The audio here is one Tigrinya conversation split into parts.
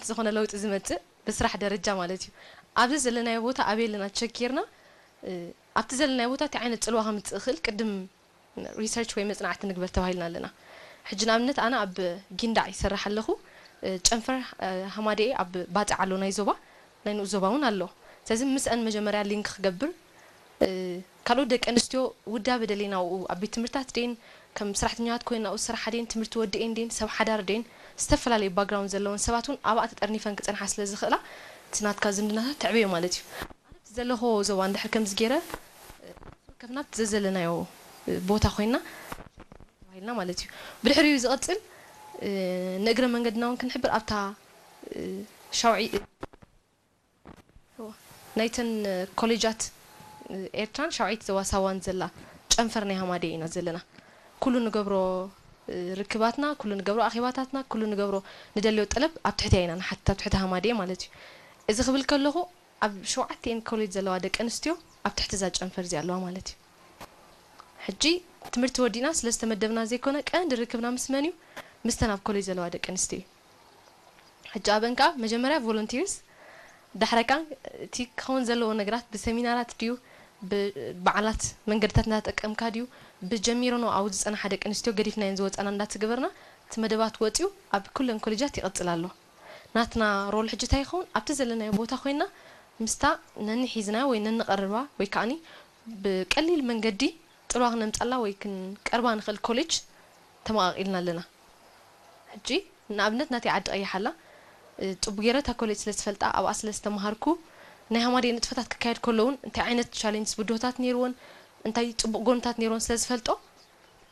ዝኾነ ለውጢ ዝመጽእ ብስራሕ ደረጃ ማለት እዩ። ኣብዚ ዘለናዮ ቦታ ኣበይ ኣለና ቸክ ጌርና፣ እ፣ ኣብቲ ዘለናዮ ቦታ እንታይ ዓይነት ጽልዋ ከምጽእ ይኽእል ቅድም ሪሰርች ወይ መጽናዕቲ ንግበር ተባሂልና ኣለና። ሕጂ ንኣብነት ኣነ ኣብ ጊንዳዕ ይሰርሕ ኣለኹ። እ፣ ጨንፈር፣ እ፣ ሃማደኤ ኣብ ባጽዕ ኣሎ ናይ ዞባ፣ ናይ ንኡስ ዞባ እውን ኣሎ። ስለዚ ምስአን መጀመርያ ሊንክ ክገብር፣ እ፣ ካልኦት ደቂ ኣንስትዮ ውዳበ ደልየን ኣብኡ ኣብ ቤት ትምህርትታት ደይን ከም ሰራሕተኛታት ኮይነን ኣብኡ ዝሰርሓ ደይን ትምህርቲ ወዲኤን ደይን ሰብ ሓዳር ደይን ዝተፈላለዩ ባክግራውንድ ዘለወን ሰባት እውን ኣብኣ ተጠርኒፈን ክጸንሓ ስለ ዝኽእላ እቲ ናትካ ዝምድናታት ተዕብዮ ማለት እዩ። ኣነ ኣብቲ ዘለኹዎ ዞባ እንድሕር ከምዚ ገይረ፣ እ፣ ከፍና ኣብቲ ዘዘለናዮ፣ እ፣ ቦታ ኮይና ተባሂልና ማለት እዩ። ብድሕሪኡ ዝቐጽል፣ እ፣ ንእግረ መንገድና እውን ክንሕብር ኣብታ፣ እ፣ ሻውዒ፣ እ፣ ናይተን፣ እ፣ ኮሌጃት፣ እ፣ ኤርትራን ሻውዒት ዞባ ሳዋን ዘላ ጨንፈር ናይ ሃማደኤ ኢና ዘለና። ኩሉ ንገብሮ፣ እ፣ ርክባትና፣ ኩሉ ንገብሮ ኣኼባታትና፣ ኩሉ ንገብሮ ንደልዮ ጠለብ ኣብ ትሕቲ ኢና ንሓትት፣ ኣብ ትሕቲ ሃማደኤ ማለት እዩ። እዚ ክብል ከለኹ ኣብ ሸውዓቲኤን ኮሌጅ ዘለዋ ደቂ ኣንስትዮ ኣብ ትሕቲ እዛ ጨንፈር እዚኣ ኣለዋ ማለት እዩ። ሕጂ ትምህርቲ ወዲእና ስለ ዝተመደብና ዘይኮነ ቀንዲ ርክብና ምስ መን እዩ? ምስተን ኣብ ኮሌጅ ዘለዋ ደቂ ኣንስትዮ እዩ። ሕጂ ኣብአን ከኣ መጀመርያ ቮለንቲርስ፣ ዳሕረ ከኣ እቲ ክኸውን ዘለዎ ነገራት ብሰሚናራት ድዩ፣ ብበዓላት መንገድታት እንዳተጠቀምካ ድዩ፣ ብጀሚረንኦ ኣብኡ ዝጸንሓ ደቂ ኣንስትዮ ገዲፍናየን ዝወጻና እንዳተገበርና እቲ መደባት ወጺኡ ኣብ ኩለን ኮሌጃት ይቕጽል ኣሎ። ናትና ሮል ሕጂ እንታይ ይኸውን? ኣብቲ ዘለናዮ ቦታ ኮይና ምስታ ነንሒዝናያ ወይ ነንቐርባ ወይ ከኣኒ ብቀሊል መንገዲ ጽልዋ ክነምጻላ ወይ ክንቀርባ ንኽእል ኮሌጅ ተመቓቒልና ኣለና። ሕጂ ንኣብነት ናተይ ዓዲ ቀይሕ ኣላ። እ፣ ጽቡቕ ገይረ እታ ኮሌጅ ስለ ዝፈልጣ፣ ኣብኣ ስለ ዝተመሃርኩ፣ ናይ ሃማደኤ ንጥፈታት ክካየድ ከሎ እውን እንታይ ዓይነት ቻሌንጅስ ብድሆታት ነይርወን፣ እንታይ ጽቡቕ ጎንታት ነይርወን ስለ ዝፈልጦ፣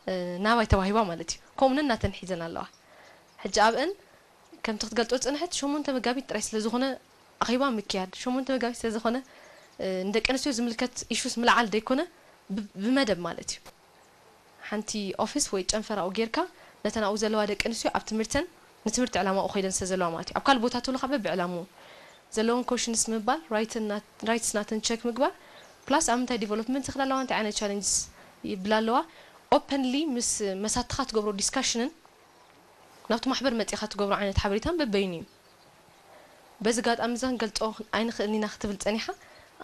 እ፣ ናባይ ተዋሂባ ማለት እዩ። ከምኡ'ውን ናተን ሒዘን ኣለዋ። ሕጂ ኣብአን ከምቲ ክትገልጾ ዝጸንሐት ሸሞንተ መጋቢት ጥራይ ስለ ዝኾነ ኣኼባ ምክያድ፣ ሸሞንተ መጋቢት ስለ ዝኾነ፣ እ፣ ንደቂ ኣንስትዮ ዝምልከት ኢሹስ ምልዓል ዘይኮነ ብ-፣ ብመደብ ማለት እዩ። ሓንቲ ኦፊስ ወይ ጨንፈር ኣብኡ ጌርካ ነተን ኣብኡ ዘለዋ ደቂ ኣንስትዮ ኣብ ትምህርተን ንትምህርቲ ዕላማኡ ከይደን ስለ ዘለዋ ማለት እዩ። ኣብ ካልእ ቦታ ተሎ ካብ በብዕላምኡ ዘለወን ኮሽንስ ምባል፣ ራይትን ናት-፣ ራይትስ ናተን ቸክ ምግባር፣ ፕላስ ኣብ ምንታይ ዲቨሎፕመንት ይኽላ ኣለዋ፣ እንታይ ዓይነት ቻለንጅስ ይብላ ኣለዋ፣ ኦፐንሊ ምስ መሳትኻ ትገብሮ ዲስካሽንን ናብቲ ማሕበር መጺኻ ትገብሮ ዓይነት ሓበሬታን በበይኑ እዩ። በዚ ኣጋጣሚ እዚ ክንገልጾ ኣይንኽእልን ኢና ክትብል ጸኒሓ።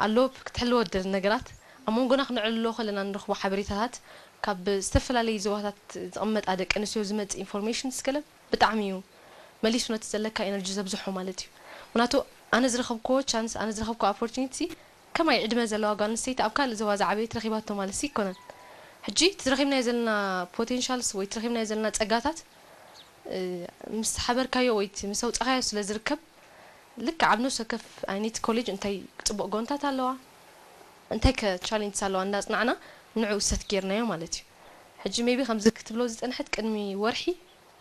ኣሎ ክትሕልዎ ትደሊ ነገራት፣ ኣብ መንጎና ክነዕልሎ ከለና ንረኽቦ ሓበሬታታት፣ ካብ ዝተፈላለዩ ዞባታት ዝቕመጣ ደቂ ኣንስትዮ ዝመጽእ ኢንፎርሜሽን ስገለ ብጣዕሚ እዩ መሊሱ ነቲ ዘለካ ኤነርጂ ዘብዝሖ ማለት እዩ። ምኽንያቱ ኣነ ዝረኸብክዎ ቻንስ፣ ኣነ ዝረኸብክዎ ኦፖርቹኒቲ ከማይ ዕድመ ዘለዋ ጓል ኣንስተይቲ ኣብ ካልእ ዞባ ዝዓበየት ረኺባቶ ማለት ኣይኮነን። ሕጂ እቲ ረኺብናዮ ዘለና ፖቴንሻልስ ወይ እቲ ረኺብናዮ ዘለና ጸጋታት፣ እ፣ ምስ ሓበርካዮ ወይ እቲ ምስ ኣውጻኻዮ ስለ ዝርከብ፣ ልክዕ ኣብ ነፍሲ ወከፍ ኣይነት ኮሌጅ እንታይ ጽቡቕ ጎንታት ኣለዋ፣ እንታይ ከ ቻሌንጅስ ኣለዋ እንዳጽናዕና ንዕኡ ሰት ጌርናዮ ማለት እዩ። ሕጂ ሜቢ ከምዚ ክትብሎ ዝጸንሐት ቅድሚ ወርሒ፣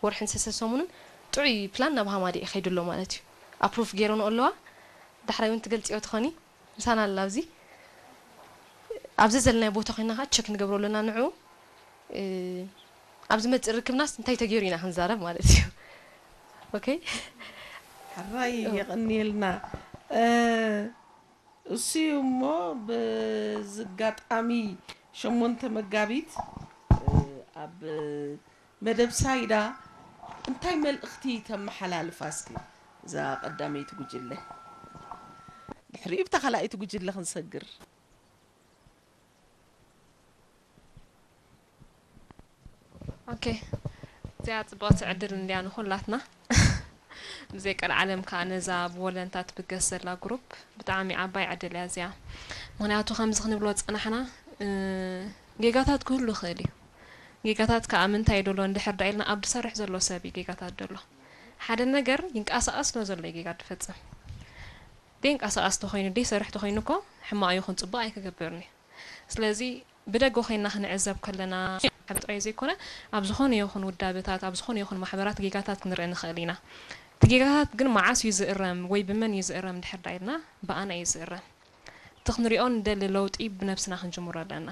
ወርሕን ሰሰ ሰሙንን ጥዑይ ፕላን ናብ ሃማደኤ ከይዱ ኣሎ ማለት እዩ። ኣፕሩቭ ጌረንኦ ኣለዋ። ዳሕራይ እውን ትገልጽዮ ትኾኒ፣ ምሳና ኣላ ኣብዚ። ኣብዚ ዘለናዮ ቦታ ኮይና ከዓ ቸክ ንገብሮ ኣለና ንዕኡ። እ፣ ኣብ ዝመጽእ ርክብናስ እንታይ ተገይሩ ኢና ክንዛረብ ማለት እዩ። ኦኬ? ሕራይ ኦ። የቐንየልና። እ፣ እሱ እዩ እሞ፣ በዚ ኣጋጣሚ ሸሞንተ መጋቢት፣ እ፣ ኣብ መደብ ሳይዳ እንታይ መልእኽቲ ተመሓላልፋ እስኪ እዛ ቀዳመይቲ ጉጅለ? ድሕሪኡ ብታ ካልኣይቲ ጉጅለ ክንሰግር። ኦኬ፣ እዚኣ ጽብቕቲ ዕድል እንድያ ንኹላትና። ብዘይ ቀልዓለም ከኣ ነዛ ብወለንታ ትብገስ ዘላ ግሩፕ ብጣዕሚ ዓባይ ዕድል እያ እዚኣ። ምኽንያቱ ከምዚ ክንብሎ ዝጸናሕና፣ እ፣ ጌጋታት ክህሉ ይኽእል እዩ። ጌጋታት ከኣ ምንታይ እዩ ደሎ እንድሕር ደኣ ኢልና ኣብ ዝሰርሕ ዘሎ ሰብ እዩ ጌጋታት ደሎ። ሓደ ነገር ይንቀሳቐስ ስለ ዘሎ እዩ ጌጋ ዝፈጽም። ደይንቀሳቐስ ተኾይኑ፣ ደይሰርሕ ተኾይኑ እኮ ሕማቕ ይኹን ጽቡቕ ኣይክገብርን እዩ። ስለዚ ብደገ ኮይንና ክንዕዘብ ከለና ጥራይ ዘይኮነ፣ ኣብ ዝኾነ ይኹን ውዳበታት፣ ኣብ ዝኾነ ይኹን ማሕበራት ጌጋታት ክንርኢ ንኽእል ኢና። እቲ ጌጋታት ግን መዓስ እዩ ዝእረም ወይ ብመን እዩ ዝእረም እንድሕር ደኣ ኢልና፣ ብኣና እዩ ዝእረም። እቲ ክንሪኦ ንደሊ ለውጢ ብነብስና ክንጅምሮ ኣለና።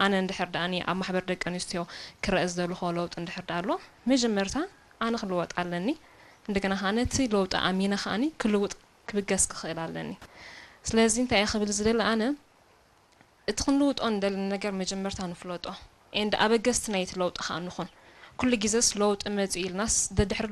ኣነ እንድሕር ደኣኒ ኣብ ማሕበር ደቂ ኣንስትዮ ክረአ ዝደለኹዎ ለውጢ እንድሕር ደኣ ኣሎ፣ መጀመርታ ኣነ ክልወጥ ኣለኒ። እንደገና ከኣ ነቲ ለውጢ ኣሚነ ከኣኒ ክልውጥ ክብገስ ክኽእል ኣለኒ። ስለዚ እንታይ እየ ክብል ዝደሊ ኣነ፣ እቲ ክንልውጦ እንደሊ ነገር መጀመርታ ንፍለጦ። ኤንድ ኣበገስቲ ናይቲ ለውጢ ከኣ ንኹን። ኩሉ ግዜስ ለውጢ መጺኡ ኢልናስ ደድሕሪ